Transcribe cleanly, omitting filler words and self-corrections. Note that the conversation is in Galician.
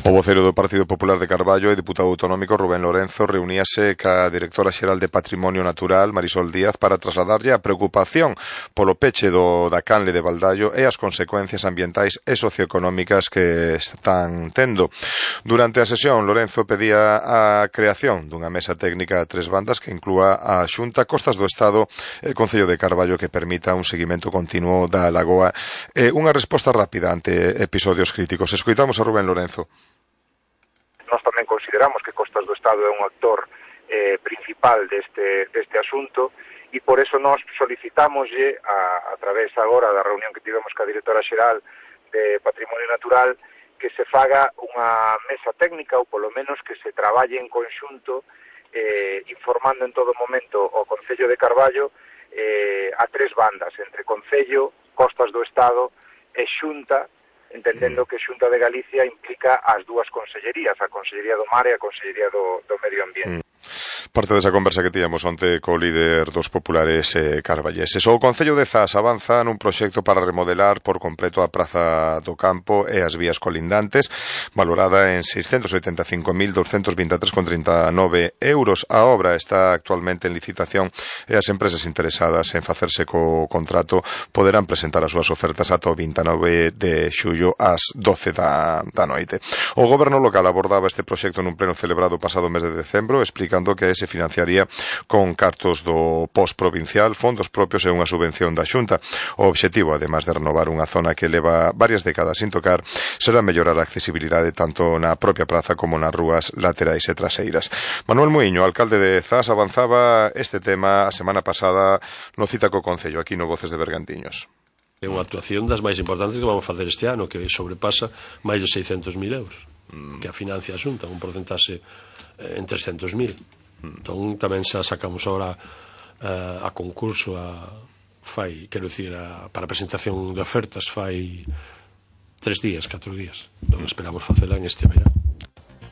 O voceiro do Partido Popular de Carballo e deputado autonómico Rubén Lorenzo reuníase ca directora xeral de Patrimonio Natural, Marisol Díaz, para trasladarlle a preocupación polo peche da canle de Baldallo e as consecuencias ambientais e socioeconómicas que están tendo. Durante a sesión, Lorenzo pedía a creación dunha mesa técnica a tres bandas que inclúa a Xunta, Costas do Estado e Concello de Carballo que permita un seguimento continuo da lagoa e unha resposta rápida ante episodios críticos. Escoitamos a Rubén Lorenzo. Nós tamén consideramos que Costas do Estado é un actor principal deste asunto e por eso nós solicitámoslle a través agora da reunión que tivemos ca directora xeral de Patrimonio Natural que se faga unha mesa técnica ou polo menos que se traballe en conxunto informando en todo momento o Concello de Carballo a tres bandas, entre Concello, Costas do Estado e Xunta, entendendo que Xunta de Galicia implica as dúas consellerías, a Consellería do Mar e a Consellería do Medio Ambiente. Parte desa conversa que tíamos onte co líder dos populares carballeses. O Concello de Zas avanza nun proxecto para remodelar por completo a Praza do Campo e as vías colindantes, valorada en 685.223,39 euros. A obra está actualmente en licitación e as empresas interesadas en facerse co contrato poderán presentar as súas ofertas ata o 29 de xullo ás 12 da noite. O Goberno local abordaba este proxecto nun pleno celebrado pasado mes de decembro, explicando que se financiaría con cartos do POS provincial, fondos propios e unha subvención da Xunta. O obxectivo, ademais de renovar unha zona que leva varias décadas sin tocar, será mellorar a accesibilidade tanto na propia praza como nas rúas laterais e traseiras. Manuel Muiño, alcalde de Zas, avanzaba este tema a semana pasada no cita co Concello, aquí no Voces de Bergantiños. É unha actuación das máis importantes que vamos facer este ano, que sobrepasa máis de 600.000 euros, que a financia a Xunta, un porcentaxe en 300.000. Entón tamén xa sacamos ahora a concurso para a presentación de ofertas fai 4 días. Entón esperamos facela en este verán.